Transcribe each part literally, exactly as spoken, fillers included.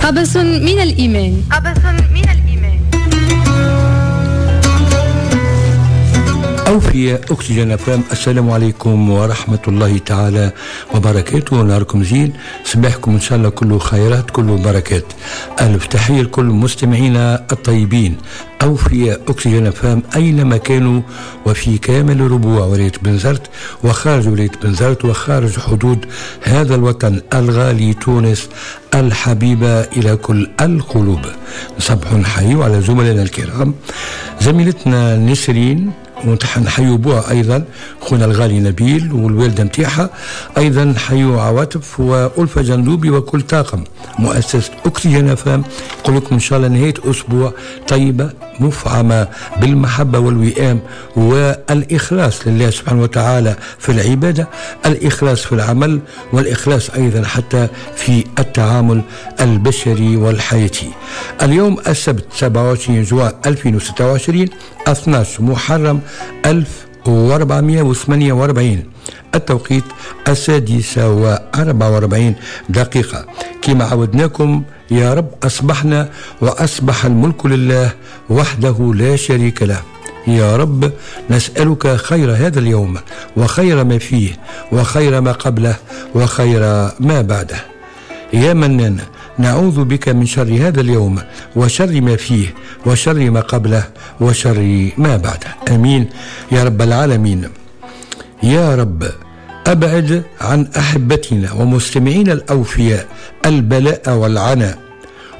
قبس من الإيمان. قبس من الإيمان. أوفياء أكسجين أفام، السلام عليكم ورحمة الله تعالى وبركاته. نهاركم زين، صباحكم إن شاء الله كله خيرات كله بركات. ألف تحية لكل مستمعينا الطيبين أوفياء أكسجين أفام أينما كانوا، وفي كامل ربوع ولاية بنزرت وخارج ولاية بنزرت وخارج حدود هذا الوطن الغالي تونس الحبيبة إلى كل القلوب. نصبح نحيو على زملائنا الكرام، زميلتنا نسرين ونحيو بوها أيضا خونا الغالي نبيل والوالدة متاعها، أيضا نحيو عواطف وألفة جندوبي وكل طاقم مؤسسة أكسجين أفام. نقول لكم إن شاء الله نهاية أسبوع طيبة مفعمة بالمحبة والوئام والإخلاص لله سبحانه وتعالى في العبادة، الإخلاص في العمل، والإخلاص أيضا حتى في التعامل البشري والحياتي. اليوم السبت سبعة وعشرين جوان ألفين وستة وعشرين، اثنا عشر محرم ألف وأربعمائة وثمانية وأربعين، التوقيت السادسة وأربعة وأربعين دقيقة. كما عودناكم يا رب أصبحنا وأصبح الملك لله وحده لا شريك له. يا رب نسألك خير هذا اليوم وخير ما فيه وخير ما قبله وخير ما بعده. يا منان نعوذ بك من شر هذا اليوم وشر ما فيه وشر ما قبله وشر ما بعده. آمين يا رب العالمين. يا رب أبعد عن أحبتنا ومستمعين الأوفياء البلاء والعناء،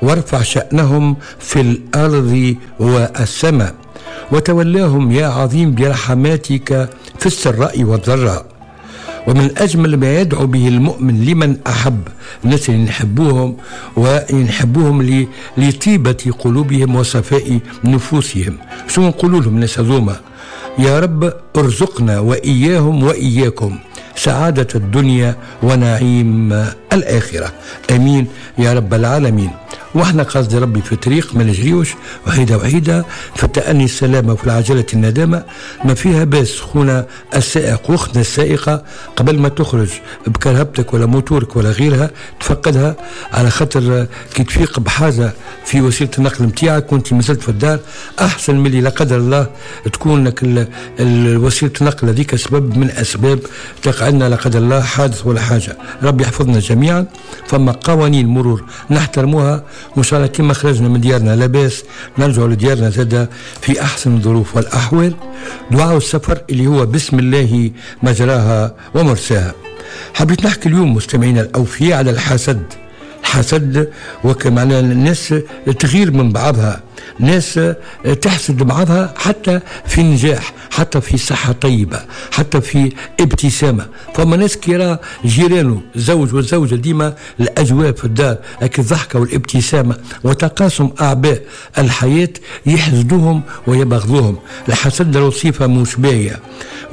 وارفع شأنهم في الأرض والسماء، وتولاهم يا عظيم برحماتك في السراء والضراء. ومن أجمل ما يدعو به المؤمن لمن أحب، الناس اللي نحبوهم ونحبوهم لطيبة قلوبهم وصفاء نفوسهم، شو نقولوا لهم الناس هذوما؟ يا رب ارزقنا وإياهم وإياكم سعادة الدنيا ونعيم الآخرة. أمين يا رب العالمين. واحنا قصد ربي في طريق ما نجريوش وحيدة وحيدة، في التأني السلامة وفي العجلة الندامة. ما فيها باس خونا السائق واختنا السائقة قبل ما تخرج بكرهبتك ولا موتورك ولا غيرها تفقدها، على خاطر كي تفيق بحاجة في وسيلة النقل نتاعك وانت مازلت في الدار أحسن من اللي لا قدر الله تكون لك وسيلة النقل هذيك سبب من أسباب تقع لنا لا قدر الله حادث ولا حاجة. ربي يحفظنا جميعا. فما قوانين مرور نحترموها، وإن شاء الله كما خرجنا من ديارنا لاباس نرجع لديارنا زادة في أحسن الظروف والأحوال. دعاء السفر اللي هو بسم الله مجراها ومرساها. حبيت نحكي اليوم مستمعينا الأوفياء على الحسد. الحسد وكما الناس تغير من بعضها، ناس تحسد بعضها حتى في النجاح، حتى في صحة طيبة، حتى في ابتسامة. فما ناس كيرا جيرانه الزوج والزوجة ديما الأجواء في الدار لكن الضحكة والابتسامة وتقاسم أعباء الحياة يحسدوهم ويبغضوهم. الحسد له صفة مش باهية،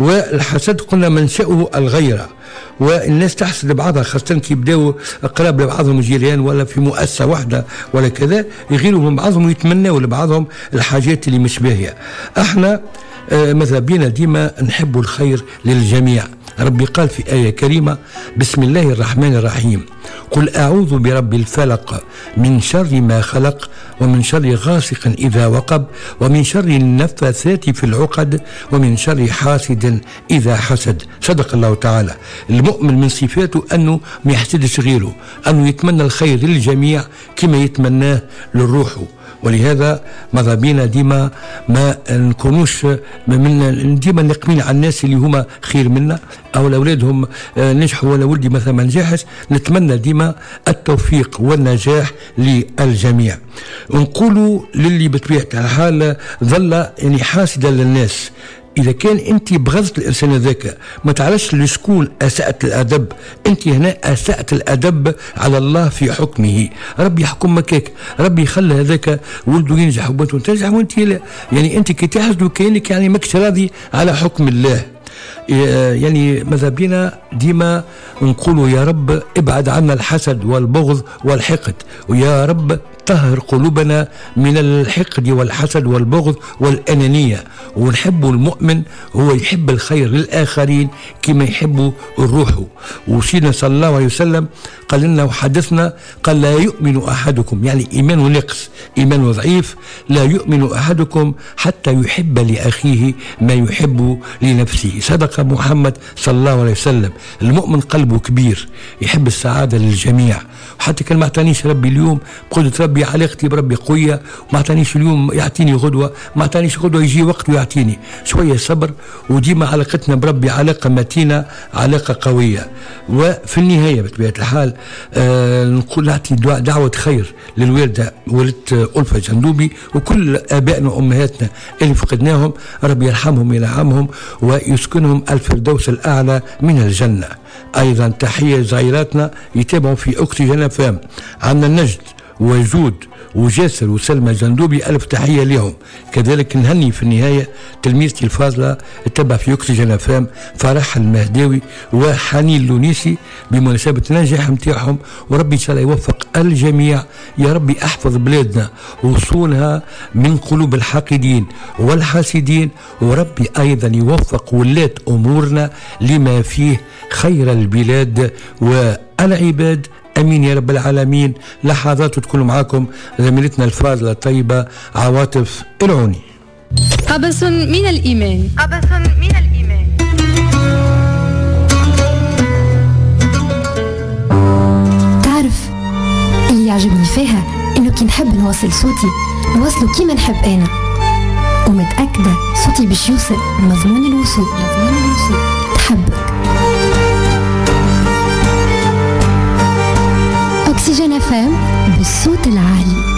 والحسد قلنا منشأه الغيرة، والناس تحسد بعضها خاصة كي يبداو قراب لبعضهم جيران ولا في مؤسسة واحدة ولا كذا، يغيروا من بعضهم ويتمنوا لبعضهم الحاجات اللي مش باهية. احنا ماذا بينا ديما نحب الخير للجميع. ربي قال في آية كريمة بسم الله الرحمن الرحيم: قل أعوذ برب الفلق من شر ما خلق ومن شر غاسق إذا وقب ومن شر النفاثات في العقد ومن شر حاسد إذا حسد. صدق الله تعالى. المؤمن من صفاته أنه ما يحسدش غيره، أنه يتمنى الخير للجميع كما يتمناه للروح. ولهذا ماذا بينا ديما ما نكونوش من ديما نقمين على الناس اللي هما خير منا او الاولادهم نجحوا ولا ولدي مثلا ما نجحش. نتمنى ديما التوفيق والنجاح للجميع. نقولوا للي بطبيعة الحال ظل يعني حاسدا للناس، إذا كان أنت بغضت الإنسان ذاك ما تعرفش لشكون أسأت الأدب، أنت هنا أسأت الأدب على الله في حكمه. ربي يحكم مكاك، ربي يخلي هذاك ولده ينجح وبنته تنجح وأنت لا. يعني أنت كي تحسد كأنك يعني ماكش راضي على حكم الله. يعني ماذا بينا ديما نقولوا يا رب ابعد عنا الحسد والبغض والحقد، ويا رب طهر قلوبنا من الحقد والحسد والبغض والأنانية. ونحب المؤمن هو يحب الخير للآخرين كما يحب الروح. وسيدنا صلى الله عليه وسلم قال لنا وحدثنا قال لا يؤمن أحدكم، يعني إيمان نقص، إيمان ضعيف، لا يؤمن أحدكم حتى يحب لأخيه ما يحب لنفسه. صدق محمد صلى الله عليه وسلم. المؤمن قلبه كبير، يحب السعادة للجميع. وحتى كان ما اعطانيش ربي اليوم بقدرة ربي علاقتي بربي قوية، ما اعطانيش اليوم يعطيني غدوة، ما اعطانيش غدوة يجي وقت ويعطيني. شوية صبر، وديما علاقتنا بربي علاقة متينة، علاقة قوية. وفي النهاية بطبيعة الحال آه نقول نعطي دعوة خير للوالدة والدة ألفة جندوبي وكل آبائنا وأمهاتنا اللي فقدناهم، ربي يرحمهم وينعمهم ويسكنهم الفردوس الأعلى من الجنة. أيضا تحية زعيراتنا يتابعوا في أكسجين أف أم، عندنا النجد وجود وجاسر وسلمى جندوبي، ألف تحية لهم. كذلك نهني في النهاية تلميذتي الفاضلة تبع في أكسجين أف أم فرح المهداوي وحنين اللونيسي بمناسبة النجاح نتاعهم، وربي إن شاء الله يوفق الجميع. يا ربي أحفظ بلادنا وصونها من قلوب الحاقدين والحاسدين، وربي أيضا يوفق ولاة أمورنا لما فيه خير البلاد والعباد، امين يا رب العالمين. لحظات تكون معاكم زميلتنا الفاضلة الطيبة عواطف العوني. قبس من الايمان، قبس من الايمان. تعرف اللي يعجبني فيها انه كي نحب نوصل صوتي نوصله كيما نحب انا، ومتاكده صوتي باش يوصل مضمون الوصول، مضمون الوصول. تحبك اكسجين أف أم بالصوت العالي.